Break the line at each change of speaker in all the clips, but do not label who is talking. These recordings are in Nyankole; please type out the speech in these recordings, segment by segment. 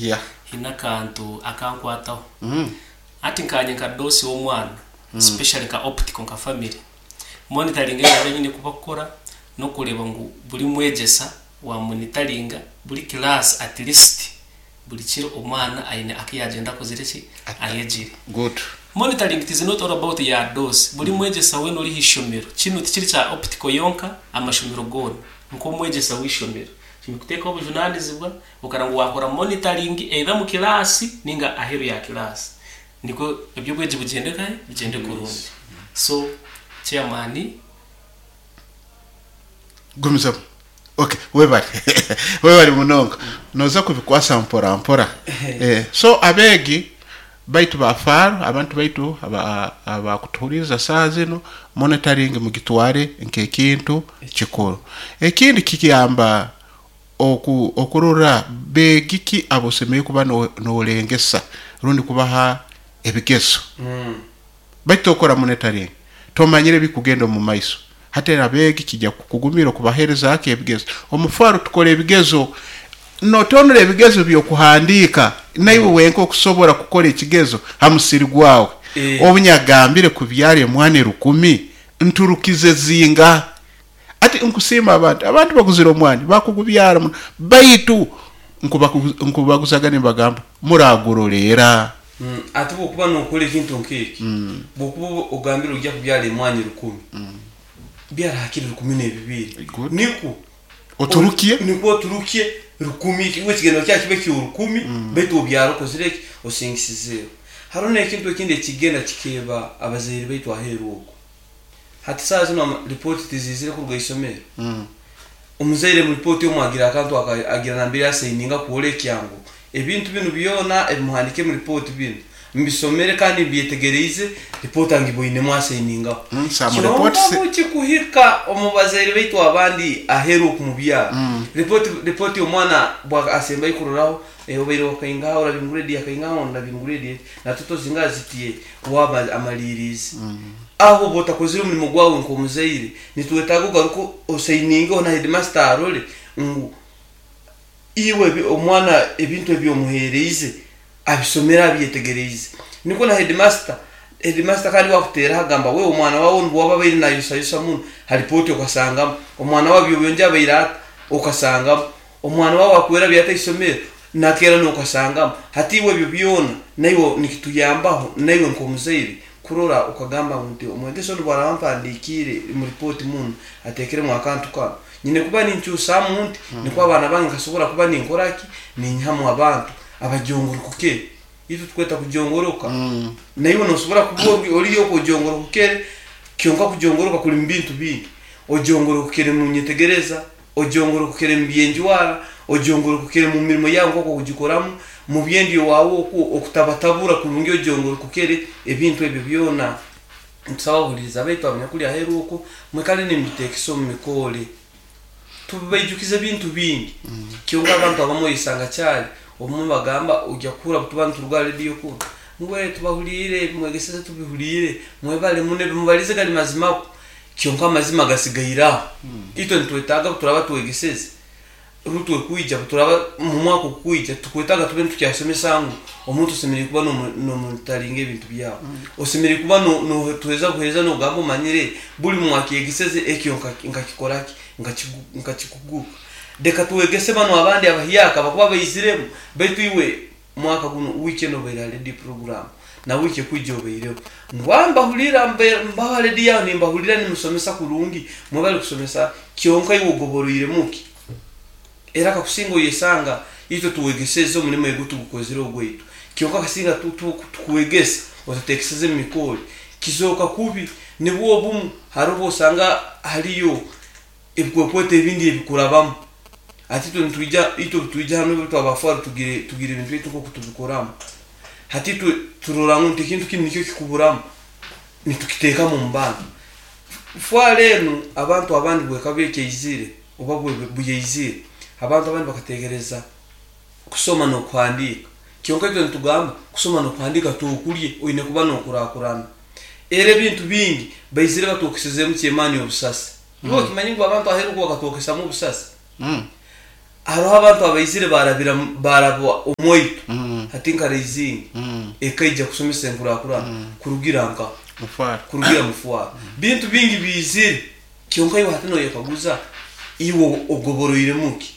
Yeah.
Haine akantu akankwataho. Hati nkanye nka doosi w'omwana, especially nka optical nka family, monitoring ei naabaire nyine kuba kukora n'okureeba ngu buri mwegyesa wa monitoringa buri class at least buri kiro omwana aine aku yaagyenda akozire ki? Ayegire.
Good.
Monitoring it is not all about ya dose. Buri mwegyesa weena ori aha ishomero, kinu tikiri kya optical yonka, amashomero goona, nk'omwegyesa w'eishomero, oine kuteekaho obujunaanizibwa okareba ngu waakora monitoring either omu kiraasi ninga aheeru ya kiraasi. Nikwo eby'obwegi bigyende nkahe? Bigyende kurungi. So, chairman.
Gumizamu. Okay, webare. Webare munonga. Noza kubikwasa mpora mpora. Eh, so abeegi baitu ba Faro, abantu baitu aba abakutuhuririza saaha zinu, monitoring mugitware nk'ekintu kikuru. Ekindi kikiyamba oku okurora beegi ki abosemeriire kuba no norengesa rundi kubaha ebigezo. Baitu tokora monitoring, tomanyire ebikugenda omu maiso. Hati abeegi kija kukugumira okubahereza ki ebigezo. Omu Faro tukora ebigezo, notonora ebigezo by'okuhandiika naiwe wenka okusobora kukora ekigezo ha musiri gwawe. Obu nyagambire kubyara emwani rukumi, nturukize zingaha? Hati nkusiima abantu, abantu baguzire omwani bakugubyara muno, baitu nkubaguzaga nimbagamba muraguroleera.
Ati bwokuba nokora ekintu nk'eki, bwokuba ogambire oija kubyara emwanyi rukumi, byara hakiri rukumi n'ebibiiri.
Good.
Nikwo
Oturukye.
Nikwo oturukye rukumi, iwe ekigendererwa kyawe kibe ky'orukumi, baitu obyara okozire ki? Osingisizeeho. Haroho n'ekintu ekindi ekigenda kikeeba abazaire baitu aheeru oku. Hati saaha zinu ama ripooti tiziizire kuruga isomero. Omuzaire mu ripooti omu agira akantu aka agira nambere asaininga kwolekya ngu ebintu binu byona ebimuhandiikire mu ripooti binu mbisomere kandi mbyetegereize, ripooti angiboinemu asainingaho.
Some
Kyonka
reports
bukikuhika omu bazaire baitu abandi aheeru oku mubyaro, ripooti ripooti omwana bwa asembayo kuroraho, obaire wakaingaha orabire mu grade yakaingaha orabire mu grade eti, na total zingaha ziti waaba amariiriize. Aho oba otakozire omurimo gwawe nk'omuzaire, nitwetaaga ogaruke osainingeho na heedimasita arore ngu iwe omwana ebintu ebi omuheereize abisomire abyetegereize. Nikwo na heedimasita, heedimasita kandi waakuteeraho agamba we omwana waawe onu waaba abaire naayosayosa muno, ha ripooti okasangamu, omwana waawe eby'obuyonjo abaire ata, okasangamu. Omwana wawe akwera ata isomero nakeera nokasangamu. Hati iwe ebyo byona naiwe nikituyambaho naiwe nk'omuzaire kurora okagamba ngu nti omwegesa onu bwaraba ampandikiire omu ripooti munu atekeremu akantu kanu nyine kuba ninkyusamu nti nikwo abaana bange nkasobora kuba ninkora ki ninyihamu abantu abajongorokukere. Itwe tukweta kujongoroka. Naiwe nosobora kuba oriyo okwo ojongorokukere kyonka kujongoroka kuli mubintu bingi. Ojongorokukere munyetegereza. Ojongorokokere mu by'enjwara, ojongorokokere mu mirimo yaawe nk'oku okugikoramu, mu by'endyo waawe oku okutabatabura kurungi ojongorokokere, ebintu ebyo byona. Nitusaba abahuliiriza baitu abanyakuli aheeru oku, mwikale nimubiteekesa omu mikoore. Tubaijukize ebintu bingi, kyonka abantu abamu oyesanga caali, obumwe bagamba oija kuhurra obutuba nituruga ha rediyo kunu, ngu ee tubahuliire, ebi mwegeseze tubihuliire, mwebale muno, ebi mubalize gali mazima kwo. Kyonka amazima gasigaire aho. Itwe nitwetaaga obu turaaba twegeseze, rundi twekwija, obu turaaba mu mwaka ogukwija, tukwetaaga tube nitukyasomesa ngu omuntu osemeriire kuba nomonitaringa ebintu byawe. Osemeriire kuba notuheereza buheereza nogamba omanyire buli mwakyegeseze ekyo nkakikora ki, nkakikuguka. Leka twegese banu abandi abahyaka abakuba baiziremu, baitu iwe Mwaka gunu wiiki enu obaire ha rediyo puroguraamu, na wiiki ekwija obaireho. Ngu ah mbahurira, mbaho ha rediyo aho nimbahurira nimusomesa kurungi, mwebale kusomesa, kyonka iwe ogoboroiremu ki? Era kakusinga oyesanga itwe tuwegeseze omurimo egu tugukozire ogwaitu, kyonka kasinga tukwegesa otatekeseze mu mikoori, kizooka kubi. Nibwo obumu haroho obu osanga hariyo ebikwekweto ebindi ebikurabamu. Hati itwe nitwija, itwe obu twija hanu itwe abafaru tugire tugire ebintu byaitu nk'oku tubikoramu. Hati itwe turora ngu nti ekintu kinu nikyo kikuburamu, nitukiteekamu omu bantu. Fwara enu abantu abandi bwekaba ekyaizire oba buyaizire, abantu abandi bakateekereza kusoma n'okuhandiika. Kyonka itwe nitugamba kusoma n'okuhandiika tokurye, oine kuba n'okurakurana. Era ebintu bingi baizire batwokesezeemu kyemaani obusasi. Iwe okimanyire ngu abantu aheeru oku bakatwokesamu obusasi? Hariho abantu abaizire baarabira baaraba omu waitu hati nka Raising ekaija kushomesa enkurakurana kurugira nkaha? Kurugira Mufwaro. Bintu bingi biizire kyonka iwe hati noyekaguza iwe ogoboroiremu ki?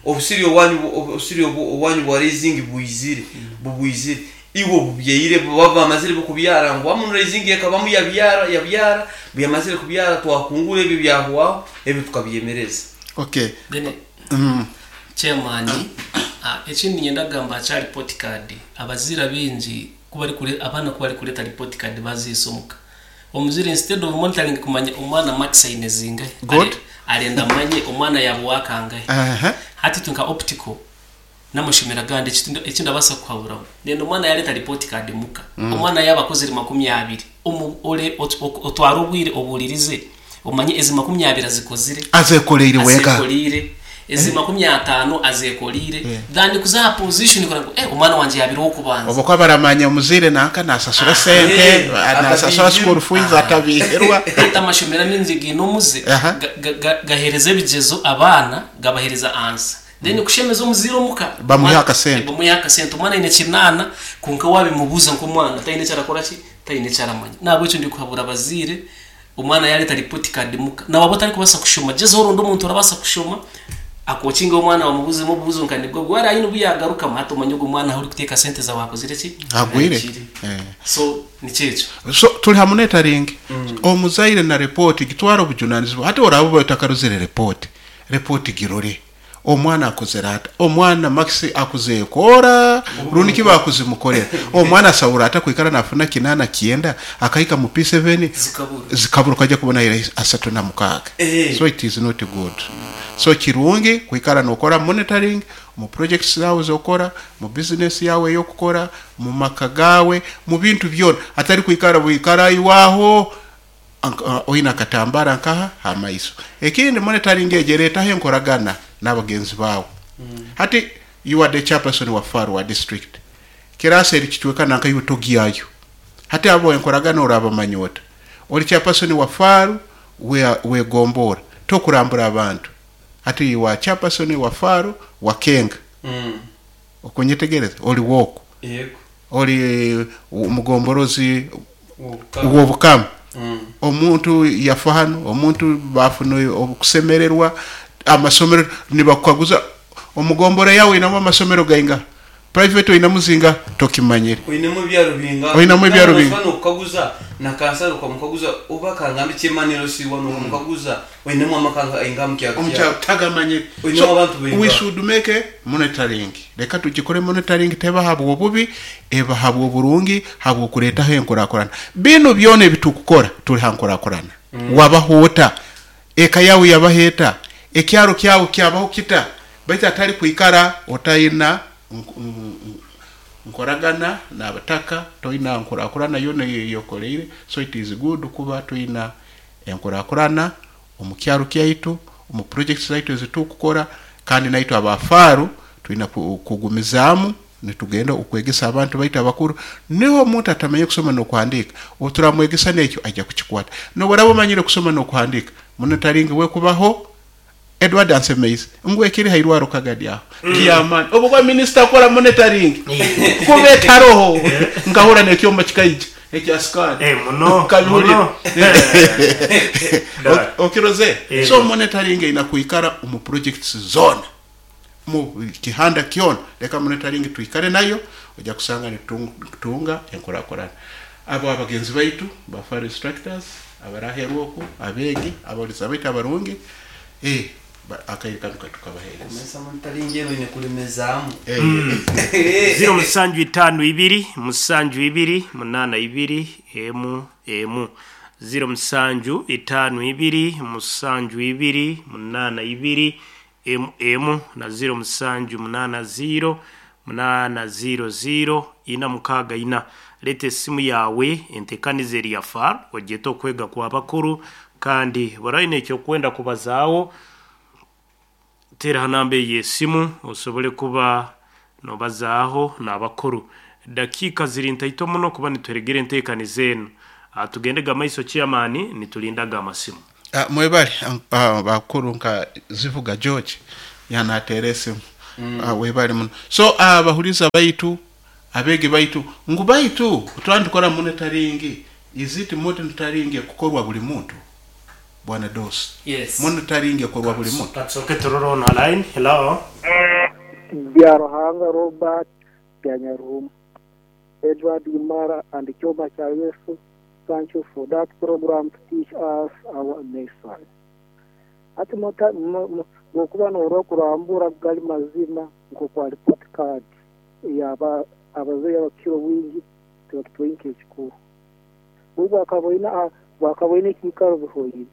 Obusiri owanyu obusiri owanyu bwa Raising bwizire bubwizire iwe obubyaire baba bamazire bo kubyara ngu wamu Raising ekabamu yabyara yabyara buyamazire kubyara twakungura ebyo byahwaho ebyo tukabyemereza.
Okay.
Then Chairman, ekindi niinyenda kugamba aha kya report card, abazaire abaingi ku barikure abaana ku barikureeta report card baziisa omuka, omuzaire instead of monitoring kumanya omwana marks aine zingahi,
Good.
arenda amanye omwana yaaba owakangahi.
Aha.
Hati itwe nka Optical n'amashomero agandi eki ndabaasa kukuhaburaho, nenda omwana yaareeta report card muka, omwana yaaba akozire 20, omu ore otware obwire obuuririze Omanye ezi 20 azikozire.
Azekoreire wenka.
Azekoreire. Ezi 50 azekoreire. Than kuza aha position kureba ngu eh omwana wangye yabaire ow'okubanza.
Obwo ku baramanya omuzaire nanka nasasura sente, nasasura school fees atabihirwa.
Hati amashomero amaingi gaine omuze, gahereza ebigyezo abaana, gabahereza answer. Then kushemeza omuzaire omuka,
Bamuhe akasente.
Bamuhe akasente. Omwana aine kinaana kwonka wabimubuuza nk'omwana taine eki arakora ki? Taine eki aramanya. Nahabwekyo ndikuhabura abazaire. Omwana yaareta report card muka, na waaba otarikubaasa kushoma, gyezaho oronde omuntu orabaasa kushoma akookinge omwana bamubuuzemu obubuuzo nka nibwo obu. Wareeba haine obu yaagarukamu, hati omanye ogu mwana ahu orikuteeka sente zaawe akozire ki?
Agwire.
Ahikire. So nikyo ekyo.
So turi ha monitoring, omuzaire na report gitwara obujunanizibwa. Hati oraabe obaire otakarozire report, report girore. Omwana akozire ata? Omwana marks akuzekoora rundi ki bakuzimukorera? Omwana asobora ata kwikara nafuna kinaana kyenda akahika mu P7
Zikabura.
zikabura okaija kubona aine 36. So it is not good. So kirungi kwikara nokora monitoring omu projects zaawe ezokukora, mu business yaawe eyokukora, mu maka gaawe, mu bintu byona hatari kwikara bwikara iwe aho Oine akatambara nkaha ha maiso. Ekindi monitoring egyo eretaho enkoragana n'abagenzi baawe. Hati you are the chairperson wa FAR wa district, kirasi eri kicweka nanka iwe togyayo. Hati abo enkoragana orabamanya ota? Ori chairperson wa FAR w'egombora, tokurambura abantu. Hati you are chairperson wa FAR wa Kenga. Okunyetegereza? Ori w'oku. Ori mugomborozi w'Obukama. Omuntu yafa hanu, omuntu baafuna okusemererwa, amasomero nibakukaguza omu gombora yaawe oinamu amasomero gaingaha? Private oinamu zingaha? Tokimanyire.
Oinemu ebyaro bingaha?
Oinamu
Kandi
ebyaro
nooshusha
bingaha?
n'okukaguza na kansara okamukaguza oba kangambe chairman LC one okamukaguza Oinemu amaka aingaha omu kyaro
Omu
kyawe?
kyaro tagamanyire.
Oinemu
So
abantu
we
baingaha?
should make a monitoring. Leka tugikore monitoring teba habw'obubi, eba habw'oburungi, habw'okureetaho enkurakurana. Binu byona ebi tukukora turi ha nkurakurana. Wabaho ota? Eka yaawe yabaho eta? Ekyaro kyawe kyabaho kita? Baitu hatari kwikara otaina nkoragana n'abataka, toina nkurakurana yoona ei okoreire. So it is good kuba twina Enkurakurana omu kyaro kyaitu, omu projects zaitu ezi turikukora kandi naitwe aba faaru twine kugumizaamu nitugenda okwegesa abantu baitu abakuru. Niho omuntu atamanyire kusoma n'okuhandiika, obu turamwegesa n'ekyo aija kukikwata. N'obu oraaba omanyire kusoma n'okuhandiika, monitoring bwekubaho, Edward ansemeize ngu ekiri ha irwaro Kagadi aho ky'amaani. Obu bwa minisita akora monitoring kuba etaroho nkahurra n'ekyoma kikaija ekya scan
Eh, muno,
nkabihurira.
muno. Dad.
Okiroze?
Eh.
So monitoring eine kwikara omu projects zoona mu kihanda kyona. Leka monitoring twikare nayo oija kusanga nitutunga enkurakurana. Abo abagenzi baitu ba fire instructors abari aheeru oku, abeegi, abahuriza baitu abarungi, eh, akaire kanu katukabaheereza.
Kumanyisa monitoring enu oine kulemezaamu.
Ziro musanju itaano ibiri musanju ibiri munaana ibiri emu emu ziro musanju itaano ibiri musanju ibiri munaana ibiri emu emu na ziro musanju munaana ziiro munaana ziiro ziiro ina mukaaga ina. Reeta esimu yaawe enteekaniza eri ya far ogyete okwega kw'abakuru kandi buri aine eki orikwenda kubazaaho teera aha namba eyo y'esimu osobole kuba noobazaaho n'abakuru. Dakiika ziri ntaito muno kuba nituheregera enteekaniza enu. Tugendege amaiso chairman nitulinda aga amasimu.
Mwebale bakuru nka Zivuga George. Yanateera esimu. Webale muno. So abahuriza baitu, abeegi baitu, ngu baitu twaba nitukora monitoring, is it monitoring ekukorwa buri muntu? Bwana Dosi.
Yes.
Monitoring ekorwa buri muntu?
Katusooke turore onu ha line. Hello.
Byaruhanga Robert Byanyaruhuma, Edward Imara and Kyoma Kya Yesu, thank you for that program to teach us our nation. Hati bwokuba norora kurambura gali mazima nk'okwa report card eyaba abazaire abakukira obwingi tibakitwaire nk'ekikuru. Obu bwakaboine ekiikaro bihoire.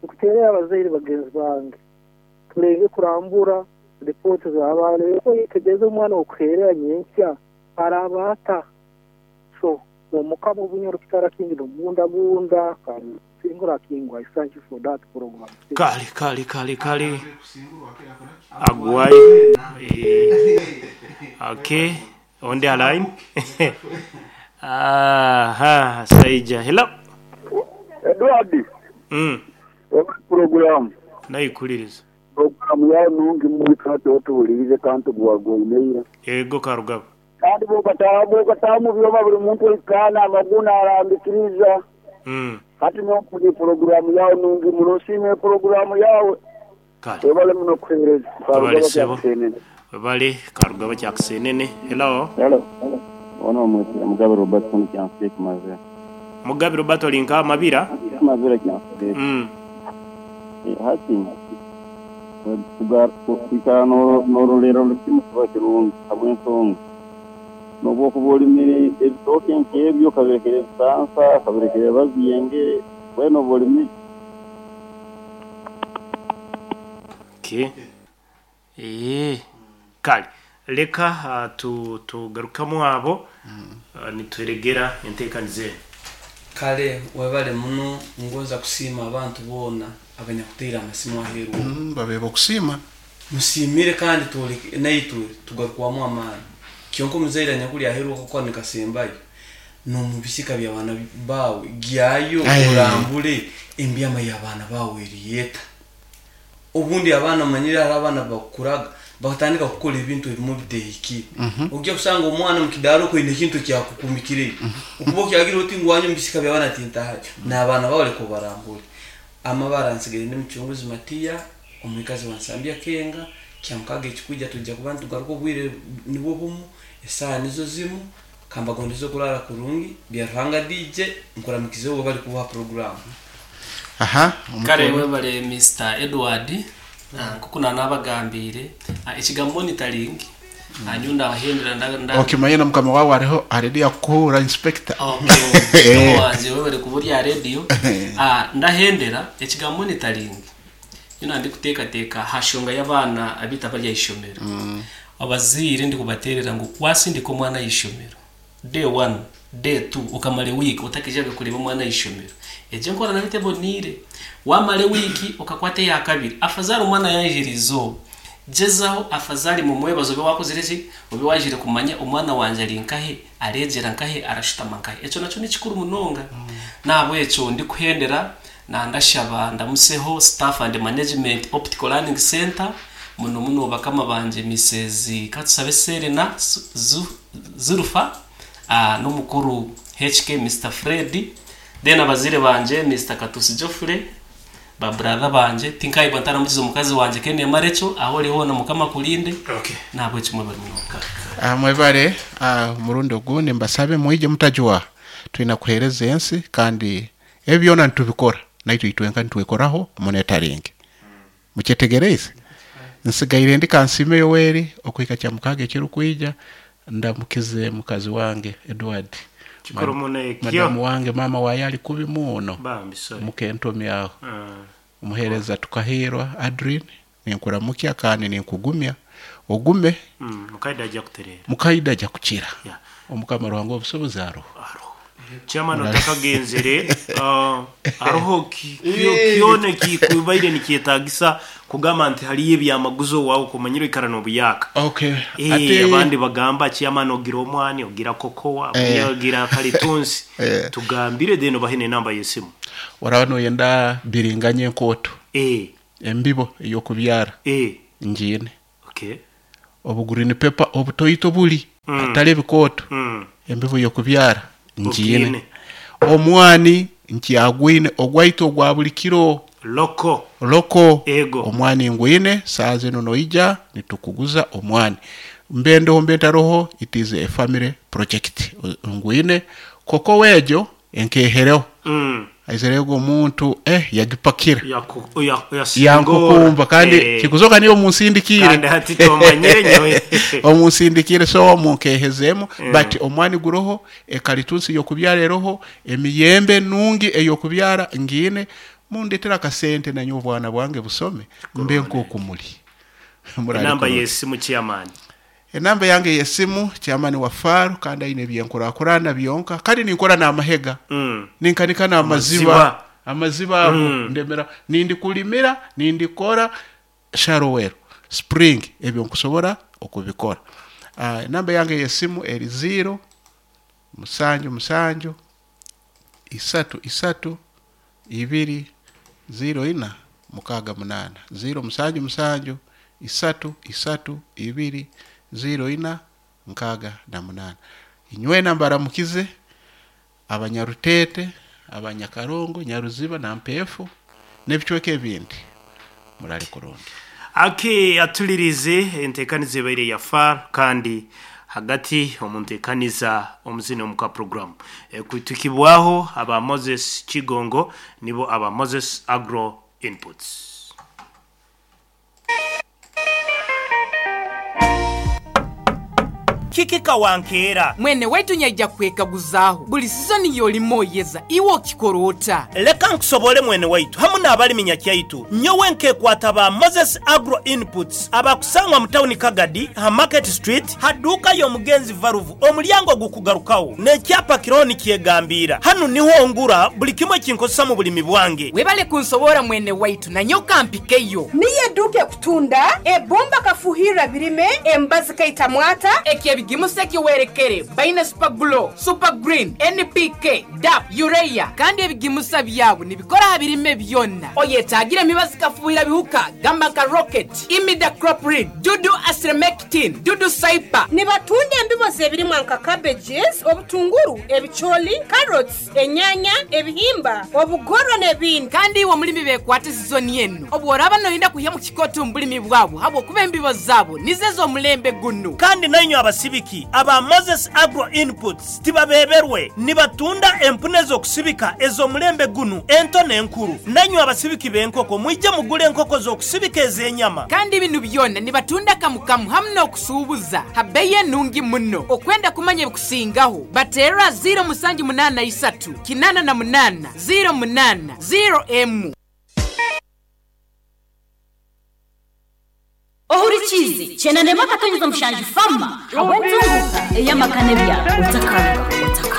Nkuteerera abazaire bagenzi bange tulenge kurambura report z'abaana oyetegereze omwana okuherera nyenkya araaba ata. So omukama obunyoro kitara kingi nomubundabunda kandi singura kingwa. I thank you for that program.
Kale kale kale kale agwayo. Eh, okay, on the line. Aha, Saija. Hello.
Edward, webale pulogulaamu.
Naikuliriza.
Pulogulaamu yaawe nungi muno kandi otuhuliriize kandi tugwagwaine ira.
Ego Karugaba.
Kandi bwokataaha omu byoma buri muntu ohikaana amagunu arambikiriza. Hati nyowe pulogulaamu yaawe nungi muno nsiima epulogulaamu yaawe.
Kale.
Webale muno kuheereza.
Webale
Karugaba
sebo.
Kyakusenene.
Webale Karugaba Kyakusenene. Hello.
Hello. Ono omwetire Mugabe Robert kunu Kyansiike Mazira.
Mugabe Robert oli nka Mabira?
Mabira Kyansiike. Hati kwikara n'ororera orukimu kiba kirungi habw'ensonga n'obu okuba olimire ebitooke nk'ebyo okabirekera ebisansa, okabirekera babyengere, weena oba olimire.
Okay. Eh, kale leka tugarukamu abo nituregera enteekaniza enu.
Kale webale muno, ngonza kusiima abantu boona abanyakuteire amasimu aheeru.
Babeeba okusiima.
Musiimire kandi twoleke naitwe tugarukwamu amaani. Kyonka omuzaire anyakuri aheeru akakuha nikasembayo n'omu bisika by'abaana baawe gyayo orambure embyama y'abaana baawe eriyeta. Obundi abaana omanyire hariho abaana bakukuraga bakatandika kukora ebintu ebimwe bitehikire. Ojja kusanga omwana omu kidaara okwo aine ekintu ekyakukumikireyo. Okuba okyagira oti ngu wanye omu bisika by'abaana tintahayo. N'abaana baawe leka obarambure. Amabara nsigaire ndi Mucunguzi Matiya, omwikazi wa Nsambya Kenga, Kyamukaga ekikwija twija kuba nitugaruka obwire nibwo bumu, esaaha nizo zimu, kambagondeze okurara kurungi, Byaruhanga DJ, nkuramikizeho webale kubaha puroguramu.
Aha,
Kale
omukuru.
webale Mister Edward, nkoku nanabagambiire, ekigambo monitoring, nyowe ndabahendera nda, nda,
Okimanye na mukama wawe ariho already yakukuhura inspector.
Okay, mukama wangye webale kuba ori aha radio. Ndahendera ekigambo monitoring, nyowe nandikuteekateeka aha nshonga y'abaana abaitu abari aha ishomero. Abazaire ndikubateerera ngu wasindika omwana aha ishomero, day one, day two, okamara ewiiki otakaijaga kureeba omwana aha ishomero, egyo enkora nayo teboniire. Wamara ewiiki okakwata eya kabiri, afazaali omwana yaijire izooba, gyezaho afazaali mumwebaze obe wakozire ki? Obe waijire kumanya omwana wangye ari nkahe, areegyera nkahe, arashutama nkahe. Ekyo nakyo nikikuru munonga. N'ahabw'ekyo ndikuhendera nandashaba ndamuseho staff and management Optical Learning Centre, muno muno bakama bangye Missus Katusabe Serena Zulfa n'omukuru HK Mister Fred, then abazaire bangye Mister Katusi Geoffrey, ba brother bangye, tinkayebwa ntaramukize omukazi wangye Kenema Rachel, ahu ori hoona Mukama akurinde, n'ahabw'ekyo mwebare munonga.
Mwebare omurundi ogundi mbasabe mwije mutajwaha twine kuhereza ensi kandi ebi byona nitubikora naitwe itwenka nitwekoraho monitoring. Mukyetegereize? Nsigaire ndi Kansiime Yoweri okuhika Kyamukaga ekirikwija ndamukize mukazi wange Edward.
Kikuru muno ekyo.
Madamu wange maama waye ali kubi muno.
Bambi sorry.
Mukentomi aho. Omuhereza Tukahiirwa Adrine ninkuramukya kandi ninkugumya ogume.
Mukaida aja kutereera.
Mukaida aja kukira. Omukama Ruhanga w'obusobozi aroho.
Aroho. Chairman otakagenzere, aroho kyona ekikubaire nikyetagisa kugamba nti hariyo ebyamaguzi owaawe okumanyire oikara n'obuyaka.
Okay. Ate
Abandi bagamba chairman ogira omwani, ogira kokowa, ogira kalitunsi. Tugambire then obahe n'enamba y'esimu.
Oraba noyenda biringanya enkooto. Embibo ey'okubyara. Ngiine.
Okay.
Obu green pepper obutoito buri hatari ebikooto, embibo y'okubyara ngiine.
Ogiine.
Omwani nkyagwine ogwaitu ogwa buri kiro.
Loko.
Loko.
Ego.
Omwani ngwine, saaha zinu noija nitukuguza omwani. Mbe ndoho mbe ntaroho it is a family project. Ngwine, cocoa egyo enkehereho. Aizire ogwo omuntu eh yagipakira.
Yaku- ya- yasingoora.
Yankukumba kandi
Eh.
kikuzoka niyo munsindikiire.
Kandi hati tomanyire nyowe.
Omunsindikiire so munkehezemu but omwani guroho, ekalitunsi y'okubyara eroho, emiyembe nungi ey'okubyara ngiine, mundetere akasente nanyowe obwana bwange busome mbe nk'oku muri. Murare
Enamba
kurungi.
y'esimu chairman.
Enamba yange y'esimu, chairman wa Faro kandi aine ebyenkurakurana byonka kandi ninkora n'amahega. Ninkanika n'amaziba.
Amaziba.
Amaziba ago ndemera nindikulimira, nindikora sharowero, spring ebyo nkusobora okubikora. Enamba yange y'esimu eri 0 musanju musanju isatu isatu ibiri 0 ina mukaaga munaana. 0 musanju musanju isatu isatu ibiri 0 ina nkaaga na munaana. Inywena mbaramukize Abanyarutete, Abanyakarongo, Nyaruziba na Mpeefu n'ebicweka ebindi. Murare kurungi.
Aki atulirize entekaniza ebaire ya FAR kandi hagati omu ntekaniza omuzini omuka program. Kutukibwaho aba Moses Kigongo nibo aba Moses Agro Inputs. Kiki kawankeera?
Mwene waitu nyaija kwekaguzaaho, buli sizoni y'olima oyeza, iwe okikora ota?
Leka nkusobore mwene waitu hamu n'abalimi nyakyaitu. Nyowe nkekwata ba Moses Agro Inputs abakusangwa mu tawuni Kagadi ha Market Street ha duuka y'omugenzi Valuvu omulyango ogukugarukagho n'ekyapa kiroho nikyegambiira. Hanu niho ngura buli kimu ekinkozesa mu bulimi bwange.
Webale kunsoboora mwene waitu, nanyowe kampikeyo.
Niyo eduuka ekutunda ebbumba kafuhirra birime, emibazi kaita mwata.
Eky'ebigimusa ekiwerekere baine Super Glow, Super Green, NPK, DAP, Urea kandi ebigimusa byabo nibikora aha birime byona. Oyetaagire emibazi kafuhirra bihuka gamba nka Rocket, Imidacloprid, Dudu Astremectin, Dudu Cyper.
Nibatunda embibo z'ebirimwa nka cabbages, obutunguru, ebicooli, carrots, enyanya, ebihimba, obugorwa n'ebindi.
Kandi iwe omulimi beekwate sizoni enu obu oraaba noyenda kwihamu kikooto omu bulimi bwabo habw'okuba embibo zaabo nizo ez'omulembe gunu.
Kandi nainywe abasibiki aba Moses Agro Inputs tibabeeberwe, nibatunda empunu ez'okusibika ez'omulembe gunu ento n'enkuru. Nainywe abasibiki b'enkoko mwije mugule enkoko z'okusibika ez'enyama.
Kandi binu byona nibatunda kamu kamu hamu n'okusuubuza ha bbeyi enungi muno. Okwenda kumanya ebikusingaho, bateerra 0783 88 08 0
Ohurikiize Kyenda n'emwe akatonyeza mushanju Fama ahabw'entunguka ey'amaka n'ebyaro. Otakaruga, otakaruga.